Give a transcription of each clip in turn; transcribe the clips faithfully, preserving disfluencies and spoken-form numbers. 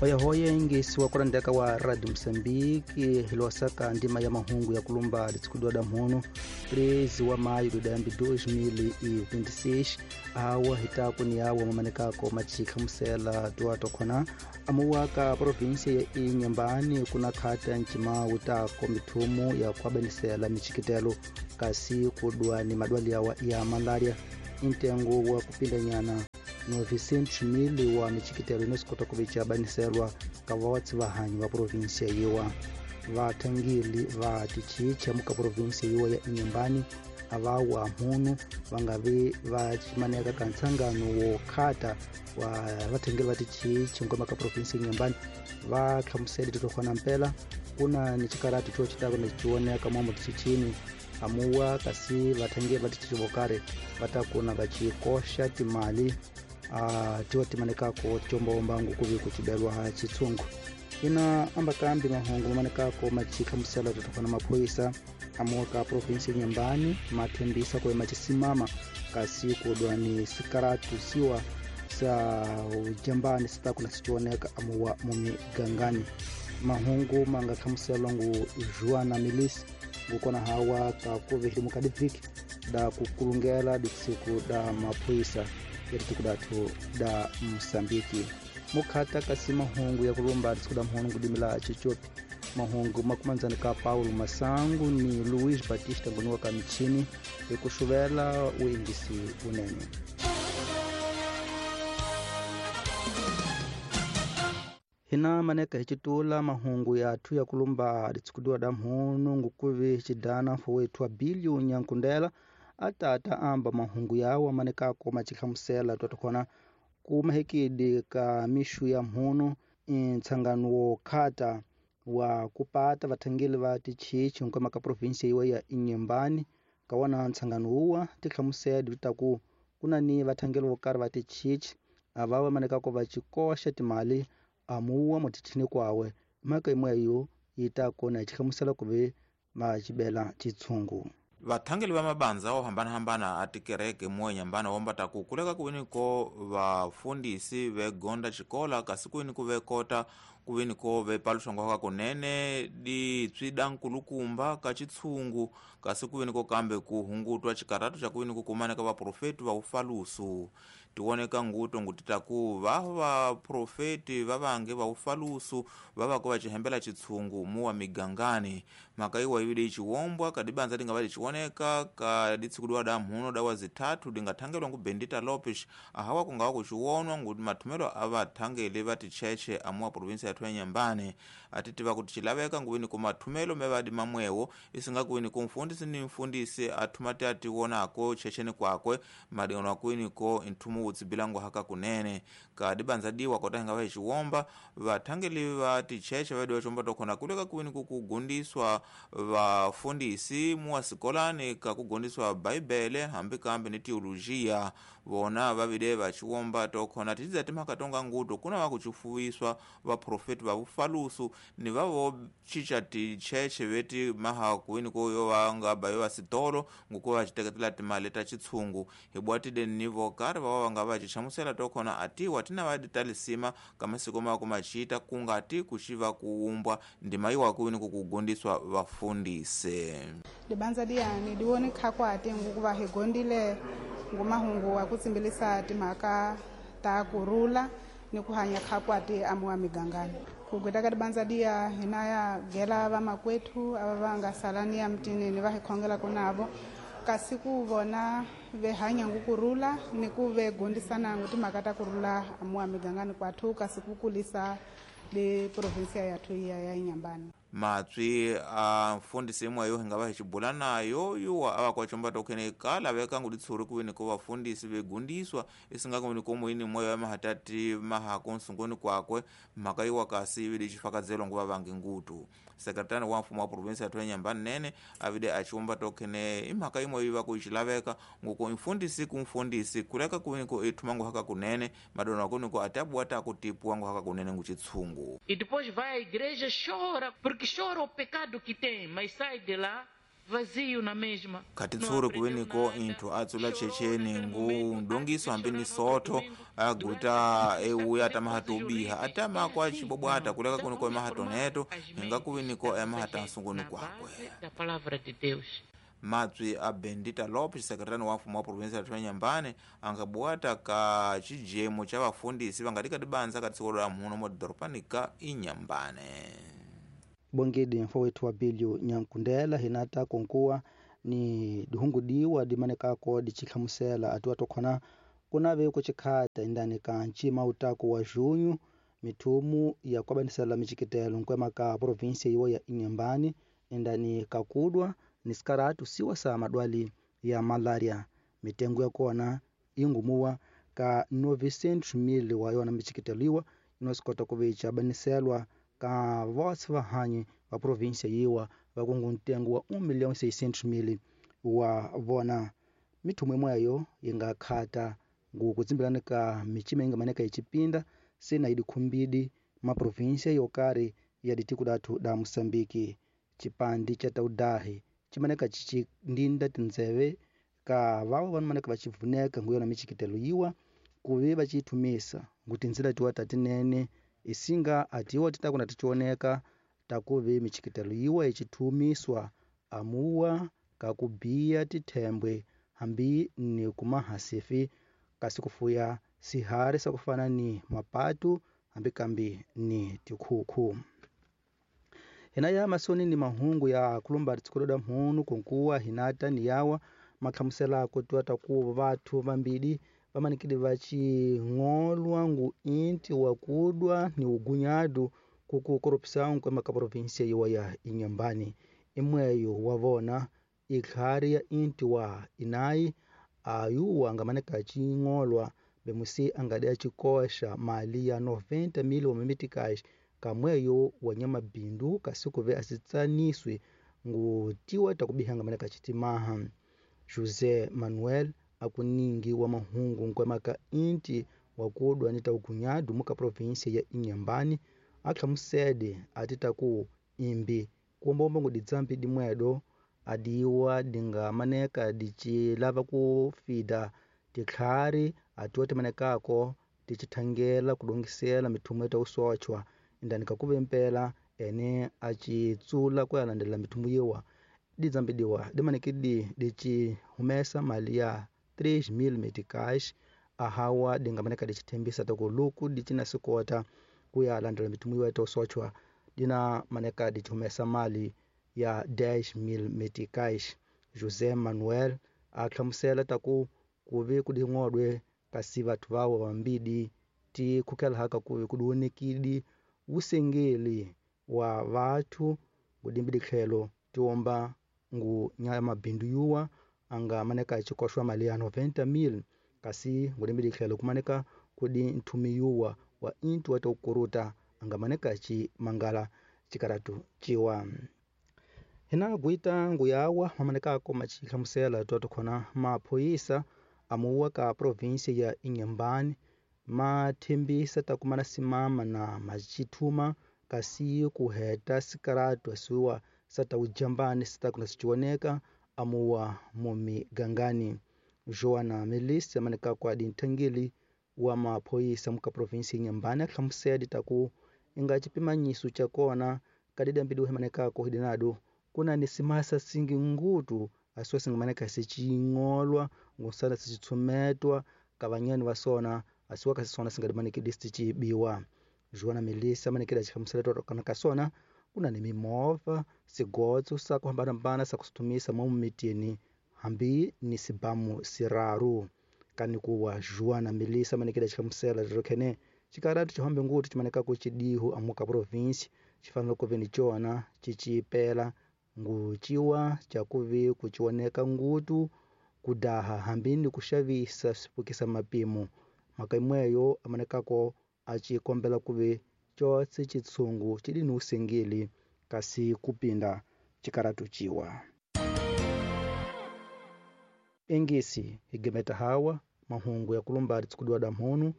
Hoyahoya ingesi wa kurandeka wa Radio Msambiki hilwasaka ndima ya mahungu ya kulumba litsikudwa da mhono treze wa maio do dambi dois mil e vinte e seis awa hitaku ni awa mamanekako machika musela duato khona amuwaka província ya Inhambane kuna khata nchima utako mithumu ya kuabanisela michikitelo kasi kudwa ni madwali awa ya malaria intengo wa kupindanyana novecentos mil wa michikitelo inesikota kuvicha baniselwa kavawatsi vahanyi va província yiwa vathangeli va tichicha muka província yiwa ya Inhambane avawa mhunu vangavi va chimaneka ka ntsangano wo khata wa vathangeli va tichichi nkoma ka província Inhambane va hlamusele titokhona mpela kuna ni chikarati cho chitako na chioneka mwa mutichichini amuwa kasi vathangeli va tichichi vokari vatakuna vachikosha timali a tiwa timanekako tiombaombangu kuvi kuchibelwa chitsungu ina ambakambi mahungu mamanekako machikha musela totokana maphoyisa amuwa ka província Inhambane mathembisa kuema chisimama kasi kudwa ni sikaratu siwa sa ujambani sitakuna sichioneka amuwa mumigangani mahungu manga khamuselwa ngu Joana Milisi ngukona hawa ka kuvihli mukadiviki da kukulungela ditsiku da maphoyisa yatikudathu da Msambiki mukhata kasi mahungu ya kulumba ditsiku da mhunu kudimila chichopi mahungu makumanzani ka Paulo Masangu ni Luiz Batista nguniwa ka michini ikuxuvela uingisi unene. Hina maneka hichitula mahungu yathu ya kulumba ditsikudiwa da mhunu ngukuvi chidana fowethu wa Bilio Nyankundela atata amba mahungu yawo manekako machikhamusela twatokhona kumahekidi ka mishu ya mhunu ntsangano wo khata wa kupata vathangeli va tichichi nkoma ka província yiwa ya Inhambane kawana ntsangano wuwa tikhamusela taku kuna ni vathangeli vo karhi va tichichi avawa manekako va chikoxa timali amuwa mutichini kwawe mhaka imwe yo yita kona chikhamusela kuve machibela chitsungu. Vathangeli va mabandza wo hambanahambana a tikereke muwa Inhambane wombata ku kuleka kuveni ko vafundisi vegonda xikola kasi kuveni ku vekota kuveni ko vepaluxangwa ka kunene ditswi da nkulukumba ka chitsungu kasi kuveni ko kambe ku hungutwa xikaratu xa kuveni ku kumaneka vaprofeti va ufalusu tioneka nguto ngutita ku va vaprofeti va vange va ufalusu va va ko va cihembela chitsungu muwa migangani mhaka iwa ivile ichiwombwa kadibanza dinga va lichioneka ka ditsikudiwa da mhuno dawa zithathu dingathangelwa ngu Bendita Lopes ahawa kungawa kuchiwonwa nguti mathumelo a vathangeli va ticheche amuwa província yathu ya Inhambane atitiva kuti chilaveka nguveni ku mathumelo mevadi mamwewo isinga kuveni ku mfundisi ni mfundisi athuma ti atiwonako checheni kwakwe madingano akuweni ko nthumu wutsibilango haka kunene kadibanza diwa kota hinga va xiwomba vathangeli va ticheche vadi va xomba tokhona kuleka kuveni ku kugundiswa vafundisi muwa sikolani ka kugundiswa bhaibhele hambi kambe ni teologia vona vavide va xiwomba tokhona ticidza timhaka tonga nguto kuna va kucifuwiswa vaprofeti va vufalusu ni va vo chicha ticheche veti maha kuweni ko yo va nga ba yo va sitolo ngukuva va xiteketela timali ta chitsungu hi bwatide ni vo karhi va va nga va xihlamusela tokhona atiwa tina va talisima ka masiko ma kumachita kungati kuxiva kuwumbwa ndima yiwa kuweni ku kugundiswa vafundisi libanza diyani diwoni khakwati ngukuva hi gondile ngumahungu wa kutsimbilisa timhaka ta kurula ni ku hanya khakwati amuwa migangani kugweta ka tibanza diya hina ya gela vamakwethu ava va nga salani ya mtinini va hi khongelaka navo kasi ku vona ve hanya ngukurula ni ku ve gondisana ngu timhaka ta kurula amuwa migangani kwathu kasi ku kulisa le provinsia yathu ya ya Inhambane. Matswi a mfundisi imwe yo hinga va hi xibula nayo yuwa a va kwa chomba tokhene ka laveka ngu ditshuri kuveni ko vafundisi vegundiswa isinga kuveni ko muini moyo ya mahatati mahako nsunguni kwakwe mhaka yiwa kasi ivile xifakazelwa nguva vangi ngutu sekretari wa mfumo wa provinsi ya Inhambane nene avide achiwomba tokhene imhaka imwe yiva ku xilaveka nguko mfundisi ku mfundisi kuleka kuveni ko ithuma ngu haka kunene madona kuni ko atabuwa ta kutipuwa ngu haka kunene ngu chitsungu. E depois vai à igreja, chora, porque chora o pecado que tem, mas sai de lá Vazio na mesma. Khatitshuri kuweniko inthu atsula checheni ngu ndongiso hambi ni sotho aguta euya atamahata ubiha atama kwa cibobwata kuleka kuniko emahata oneto hinga kuweniko emahata nsunguni kwakwe. Da palavra de Deus. Matswi a Bendita Lopes, sekretari wa mfumo wa província ya Inhambane, angabwata ka cijemo cha vafundisi vangatika dibanza ka tsiko la muno modhoropani ka Inhambane. Bongedi mfo wetu wa Bilio Nyankundela hinata konkuwa ni dihungudiwa dimanekako dichihlamusela atiwa tokhona kunave kuchikhata indani ka ncima utaku wa junho mithumu ya kuabanisela michikitelo nkwema ka província iwo ya Inhambane indani kakudwa ni sikaratu siwa sa madwali ya malaria. Mitengo ya kona ingumuwa ka novecentos mil wa yona michikiteliwa inosikota kuvicha abaniselwa ka vosi vahanyi va província yiwa vakungu ntengo wa um milhão e seiscentos mil wa vona. Mithumu imweyo yinga khata ngukutsimbilana ka michima ingamaneka ichipinda sena idikhumbidi maprovíncia yokari ya ditiko dathu da Moçambique. Chipandi cha taudahi chimaneka chichindinda tinzeve ka vavo vanomaneka vachivuneka nguyona michikitelo yiwa kuve vachithumisa ngutinzila tiwa tatinene isinga atiwa titakuna tichioneka takuve michikitelo yiwa ichithumiswa amuwa kakubiya tithembwe hambi ni kumahasifi kasi kufuya sihari sakufana ni mapatu hambi kambi ni tikhukhu. Hinaya masoni ni mahungu ya kulumba tsikododa mhunu konkuwa hinata ni yawa makhamusela kutiwa taku vathu vambili vamanikile vaching'olwa ngu inti wakudwa ni ugunyadu kuku koropisa nkwema ka província yiwa ya Inhambane. Imweyo wavona ikhari ya inti wa inayi ayuwa angamaneka ching'olwa bemusi angadi achikosha mali ya noventa mil wa mimitikash kamweyo wanyama bindu kasikuve asitsaniswe ngutiwa takubihanga maneka chitimaha. José Manuel akuningi wa mahungu nkwemaka inti wakudwa ni taugunyadu muka província ya Inhambane akhamusede atitaku imbi kuombomba nguditsambi dimwedo adiwa dingamaneka dichilava kufida tikhari atiwa timanekako tichithangela kudongisela mithumu ya tausochwa indani kakuve mpela ene achitsula kuyalandela mithumu yiwa didzambi diwa dimanekidi dichihumesa mali ya três mil meticais ahawa dingamaneka dichithembisa taku luku dichina sikota kuyalandela mithumu yiwa tausochwa dina maneka dichihumesa mali ya dez mil meticais. José Manuel akhlamusela taku kuve kuding'odwe kasi vathu vawo vambidi ti khukela haka kuve kudiwonekidi usengeli wa vathu ngudimbidi tlhelo tiomba ngu nya mabindu yuwa anga maneka chikoshwa mali ya noventa mil kasi ngudimbidi tlhelo kumaneka kudi nthumi yuwa wa intu wa tokuruta anga maneka chi mangala chikaratu chiwa. Hina guita nguyawa mamaneka ko machihlamusela toto khona maphoyisa amuwa ka província ya Inhambane mathembisa takumana simama na machithuma kasi kuheta sikaratu asiwa sataujambani sitakuna sichioneka amuwa mumigangani. Joana Melissa maneka kwa dinthangeli wa maphoyisa muka província Inhambane ahlamusedi taku inga chipimanyiso chakona kadidambidi uhemanekako hidinado kuna ni simasa singi ngutu asiwa singamaneka siching'olwa ngusala sichithumetwa kavanyani vasona asiwa kasisona singadimaniki sichibiwa. Joana Melissa manekela chikhamusela kana kasona kuna ni mimovha sigotso sa kuhambanahambana sa kusitumisa mo mitini hambi ni sibamu siraru. Kani kuwa Joana Melissa manekela chikhamusela rokhene chikaratu chihambe ngutu chimaneka kuchidihu amuka província chifanele kuve ni chona chichipela nguchiwa chakuve kuchioneka ngutu kudaha hambi ni kuxavisa swipukisa mapimo. Mhaka imweyo amanekako achikombela kuve chotse chitsungu chili ni usengeli kasi kupinda chikaratu chiwa. Engisi higemeta hawa mahungu ya kulumba tsikudwa da mhunu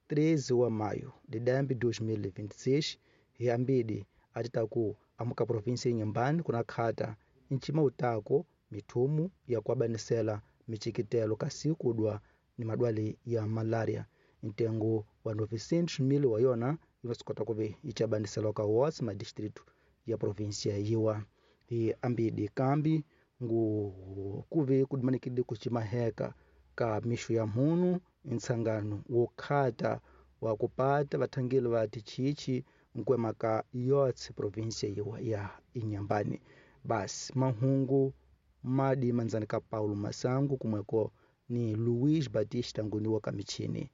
treze wa maio de dambi dois mil e vinte e seis hiambidi atitaku amuka província Inhambane kuna khata Ncima utako mithumu ya kuabanisela michikitelo kasi kudwa ni madwali ya malaria. Ntengo wa novecentos mil wa yona inosukota kuve ichabanisela ka wonse madistritu ya província yiwa. Hi ambidi kambi ngu kuve kudimanikide kucimaheka ka mixo ya mhunu ntsangano wo khata wa kupata vathangeli va tichichi nkwemaka yotse província yiwa ya Inhambane. Basi mahungu madi manzani ka Paulo Masango kumweko ni Luiz Batista nguni wa kamichini.